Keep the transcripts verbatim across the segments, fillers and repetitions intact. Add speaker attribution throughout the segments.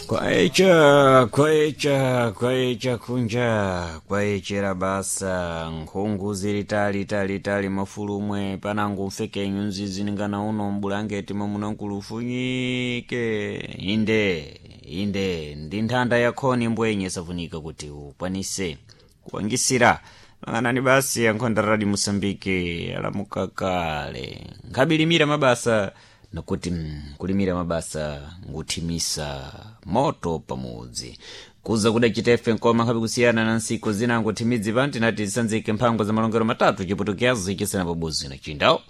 Speaker 1: Kwaecha kwaecha kwaecha kunja kwaechera basa nkhungu zili tali tali tali mafulumwe panango mfeke nyunzi ziningana uno mbulangeti mwamuna ufunyike inde inde ndi nthanda yakhoni mbwenye safunika kuti ukwanise kuwangisira mang'anani basi yankhonda radi Moçambique alamuka kale nkhabilimira mabasa nakuti mm, kulimira mabasa nguthimisa moto pamudzi kuza kudacitefe nkoma nkhabe kusiyana na nsiku zinango thimidzi panti nati zisanzike mphango za malongero matatu chiputukiazi chisena pabuzi na chindawo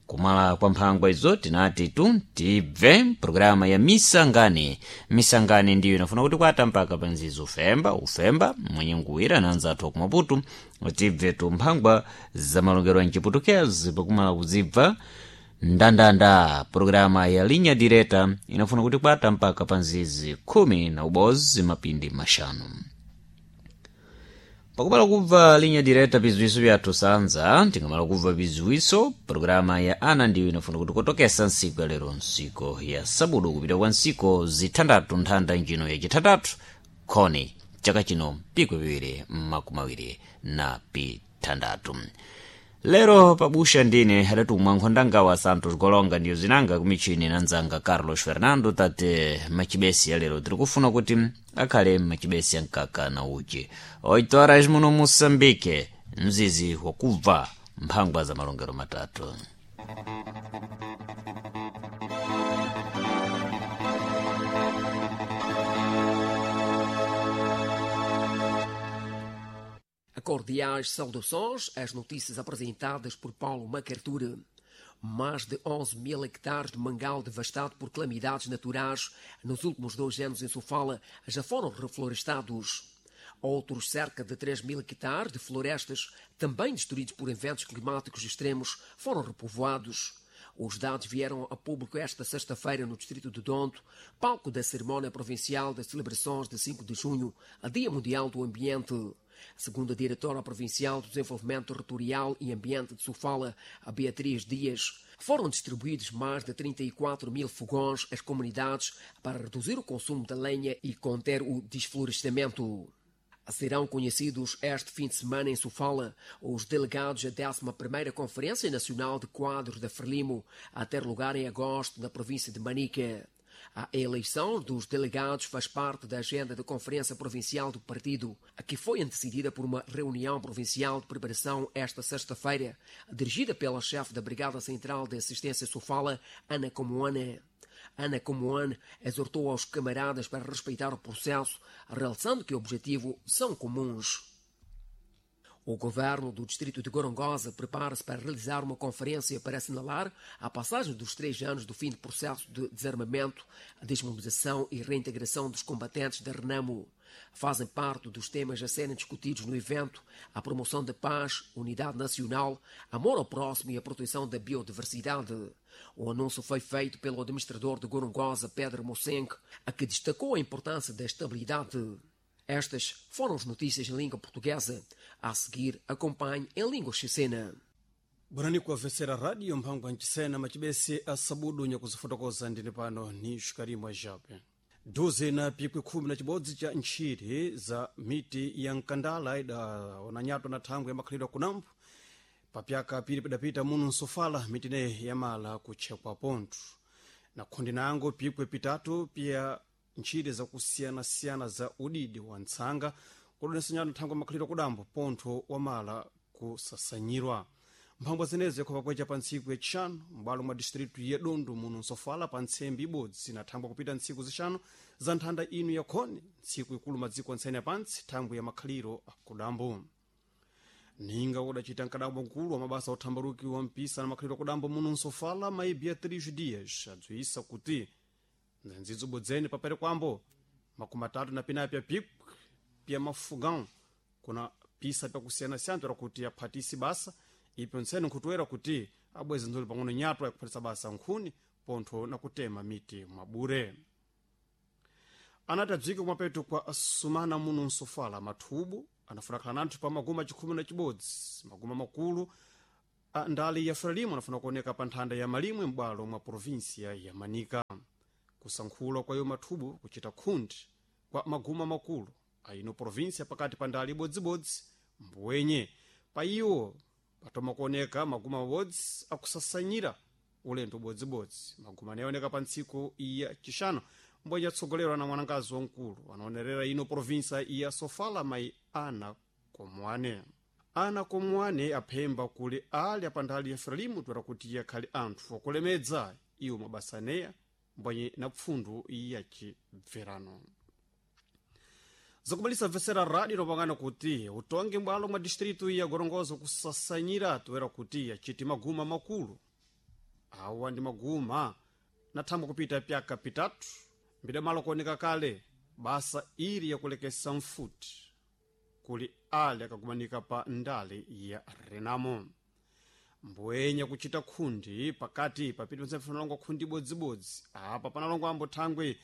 Speaker 1: kumala kwa mphangwa izo tinati tu tibve programa ya misangani misangani ndiyo inafuna kuti kwata mpaka panzizi ufemba ufemba mwenye nguwira na anzathu akumaputu tibve tu mphangwa za malongero a mchiputukezi pakumala kuzibva ndandanda programa ya linha direta inafuna kuti kwata mpaka panzizi khumi na ubozi mapindi maxanu pakumala kubva linha direta biziwiso byathu sanza tingamala kubva biziwiso programa ya ana ndiyo inafuna kuti kotokesa nsiku ya lero nsiku ya sabudu kupita kwa nsiku zithandatu nthanda njino yacithatatu khoni chaka chino pikwi piwiri makumi awiri na pithandatu lero pabusha ndine adatumwa nkhondangawa Santos Golonga ndiyo zinanga kumichini na nzanga Carlos Fernando tate machibesi ya lero tiri kufuna kuti akhale machibesi ya mkaka na uchi oito horas muno Moçambique mzizi wakubva mphangwa za malongero matatu.
Speaker 2: Cordiais saudações às notícias apresentadas por Paulo Macarture. Mais de onze mil hectares de mangal devastado por calamidades naturais nos últimos dois anos em Sofala já foram reflorestados. Outros cerca de três mil hectares de florestas, também destruídos por eventos climáticos extremos, foram repovoados. Os dados vieram a público esta sexta-feira no distrito de Dondo, palco da cerimónia provincial das celebrações de cinco de junho, a Dia Mundial do Ambiente. Segundo a diretora provincial do Desenvolvimento Territorial e Ambiente de Sofala, a Beatriz Dias, foram distribuídos mais de trinta e quatro mil fogões às comunidades para reduzir o consumo da lenha e conter o desflorestamento. Serão conhecidos este fim de semana em Sofala os delegados da décima primeira Conferência Nacional de Quadros da Frelimo, a ter lugar em agosto na província de Manica. A eleição dos delegados faz parte da agenda da Conferência Provincial do Partido, a que foi antecedida por uma reunião provincial de preparação esta sexta-feira, dirigida pela chefe da Brigada Central de Assistência Sofala, Ana Comoane. Ana Comoane exortou aos camaradas para respeitar o processo, realçando que o objetivo são comuns. O governo do distrito de Gorongosa prepara-se para realizar uma conferência para assinalar a passagem dos três anos do fim do processo de desarmamento, a desmobilização e reintegração dos combatentes da Renamo. Fazem parte dos temas a serem discutidos no evento a promoção da paz, unidade nacional, amor ao próximo e a proteção da biodiversidade. O anúncio foi feito pelo administrador de Gorongosa, Pedro Mosenk, a que destacou a importância da estabilidade. Estas foram as notícias em língua portuguesa. A seguir, acompanhe em língua chicena.
Speaker 3: Bwanani kuwavesera radio mphangwa nchisena machibesi a sabudu nyakuzifotokoza ndine pano ni xikarimwa jape duze na pikwi khumi na chibodzi cha ntchire za miti ya mkandala idaona nyato na thangwe yamakhalidwe kunambo papyaka piri pidapita muno nsofala miti ineyi yamala kutchekwa pontho na khundi nango pikwe pitatu pya ntchire zakusiyanasiyana za udidi wa ntsanga kudonesa nyato thangwe makhalidwe kudambo pontho wamala kusasanyirwa mphangwa zenezo yakhopa kwecha pa ntsiku yacixanu m'bwalo mwa distritu ya Dondo muno nsofala pa ntsembe ibodzi na thangwe kupita ntsiku zixanu za nthanda inu yakhoni ntsiku ikulu madziko antsene apantsi thangwe ya makhaliro akudambo ninga kudacita mkadambo mkulu wa mabasa othambaluki wa mpisa na makhaliro akudambo muno nsofala mayi Beatriz Dias adziwisa kuti nzenzidzo bodzene papere kwambo makumi atatu na pinayi pya pikwi pya mafugão kuna pisa pyakusiyanasiyana toera kuti aphatisi basa ipyo ntsene nkhutoera kuti abweze nzoli pang'ono nyatwa yakuphatisa basa nkhuni pontho na kutema miti mwabure anati adzike kumapeto kwa sumana muno nsofala mathubu anafuna khala nanthu pa maguma chikhumi na chibodzi maguma makulu a ndali ya Frelimo anafuna kuoneka pa nthanda ya malimwe m'bwalo mwa provinsia ya Manika Kusankhula kwayo mathubu kuchita khundi kwa maguma makulu aino provinsia pakati pa ndale ibodzibodzi mbwenye pa iwo patoma kuoneka maguma mabodzi akusasanyira ulendo ubodzibodzi. Maguma anaoneka pa ntsiku ya chixano mbwenye atsogolerwa na mwanangazi wamkulu anaonerera ino provinsa ya Sofala, mayi Ana Komwane. Ana Komwane aphemba kuli ali apandali ya Frelimu toera kuti yakhali anthu akulemedza iwo mabasa aneya mbwenye na pfundu ya chibverano. Zakumalisa mvesera radio inopangana kuti utongi mbwalo mwa distritu ya Gorongozo kusasanyira toera kuti achiti maguma makulu awa ndi maguma nathamba kupita pyaka pitatu mbidamalo kuoneka kale basa ili yakulekesa mfuti kuli ali akagumanika pa ndale ya Renamo mbwenya kuchita khundi pakati papiti panalongwa khundi ibodzibodzi. Apa panalongwa ambo thangwe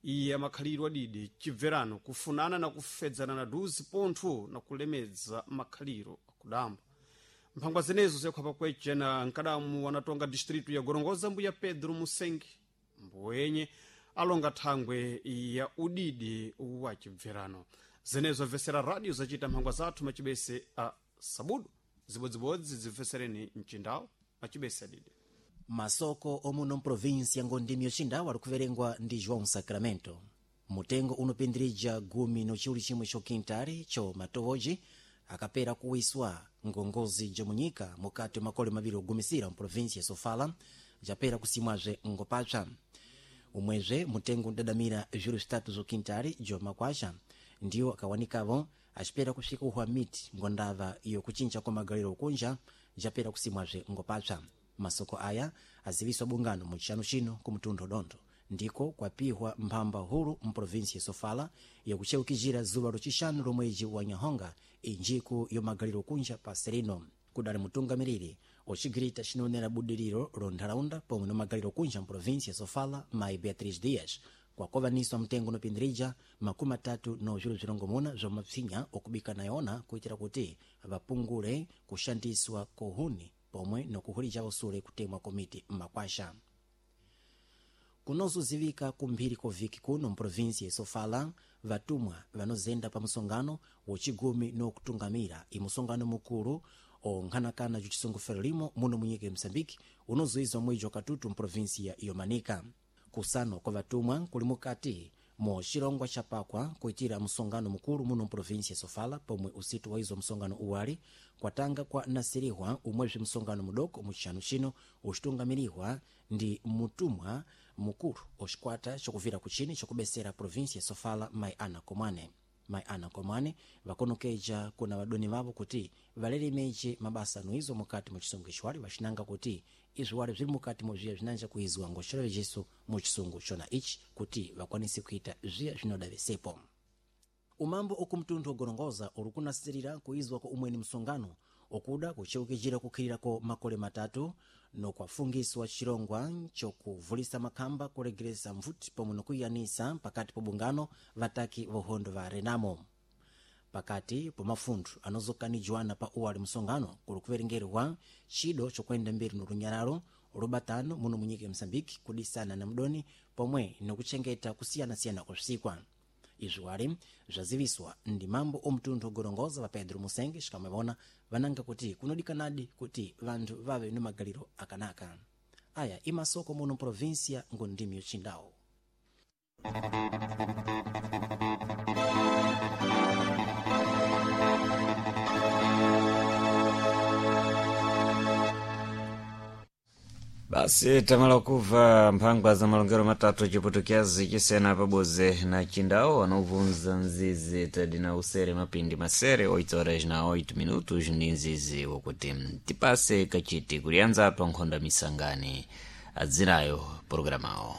Speaker 3: iye amakhalidwe adidi chibverano kufunana na kufedzana na duzi pontho na kulemedza makhaliro akudamba. Mphangwa zenezo ziyakhwapa kweche na nkadamu anatonga distritu ya Gorongoza mbuya Pedro Musengi mbwenye alonga thangwe ya udidi wa chibverano. Zenezo mvesera radio zachita mphangwa zathu machibese a sabudu zibodzibodzi zimvesereni mchindawo machibese adidi.
Speaker 4: Masoko omuno mprovinsi ya Ngondimi yocindawo ali kuverengwa ndi João Sacramento. Mutengo unopindirija gumi nochiwuli chimwe chokintali cho matowoji akapera kuwiswa ngongozi jomunyika mukati makole maviri ogumisira mprovinsi ya Sofala japera kusimwazve ngopapsa. Umwezve mutengo udadamira zviru zvitatu zokintali jo makwasha ndiwo akawanikavo acipera kusvika uhwa miti ngondava iyo kuchinja kwa magaliro okunja japera kusimwazve ngopapsa. Masoko aya aziviswa bungano muchiyano chino ku mtundu dondo ndiko kwapihwa mphamba hulu mprovinsi ya Sofala yakucheukizira zuwa locixanu lomwedzi wa Nyahonga injiku yomagaliro kunja pa serino. Kudali mutungamiriri ocigirita cinonera budiriro lo nthalaunda pomwe nomagaliro kunja mprovinsi ya Sofala mayi Beatriz Dias kwakovaniswa mtengo unopindirija makumi atatu no zviru zvirongomuna zva mapsinya okubika nayona kuitira kuti vapungule kushandiswa kohuni pomwe nokuhulija usule kutemwa komiti mmakwasha. Kunozozivika kumphiri koviki kuno mprovinsi ya Sofala vatumwa vanozenda pa musongano wocigumi nokutungamira imusongano mukulu onkhanakana cucisungu Frelimo muno munyika ya Msambiki unozoizwa mwedzi wa katutu mprovinsi ya Yomanika. Kusano kwa vatumwa kuli mukati mo chilongwa chapakwa kuitira msongano mukulu muno mprovinsi ya Sofala pomwe usitu waizwa msongano uwali kwatanga kwa nasirihwa umwezve msongano mudoko muchixanu chino ucitungamirihwa ndi mutumwa mukulu ocikwata cokuvira kuchini cokubesera provinsi ya Sofala mayi Ana Komwane. Mayi Ana Komwane vakonokeja kuna vadoni vavo kuti valelemeje mabasa anuizwa mukati mu chisungu ichiwali vacinanga kuti izviwali zviri mukati mozviya zvinanja kuizwa ngoxirovejeso mu chisungu chona ichi kuti vakwanise kuita zviya zvinoda vesepo. Umambo okumtundu ogorongoza uri kunasirira kuizwa kwa umweni msongano okuda kucheukijira kukhirira ko makole matatu nokwafungiswa chirongwa chokuvulisa makhamba kulegeresa mvuti pomwe nokuyanisa pakati po bungano vataki vohondo va Renamo. Pakati po mafunthu anozokanijwana pa uwali msongano kuli kuverengerwa chido chokwenda mbiri nolunyalalo lubatano muno munyika ya Msambiki kudisana na mdoni pomwe nokuchengeta kusiyanasiyana kwa izvi wali zvaziviswa ndi mambo omtundu ogorongoza va Pedro Musenge xikamwe vananga kuti kunodikanadi kuti vanthu vave ni magaliro akanaka. Aya imasoko muno provinsia ngondimi yocindawo.
Speaker 1: Basi tamala kuva mphangwa za malongero matatu chiputukiazi chisena paboze na chindawo anobvunza nzizi tadi na usere mapindi masere oito horas na oito minutos ndi nzizi wokuti tipase kachiti kulianza apa nkhonda misangani adzinayo programawo.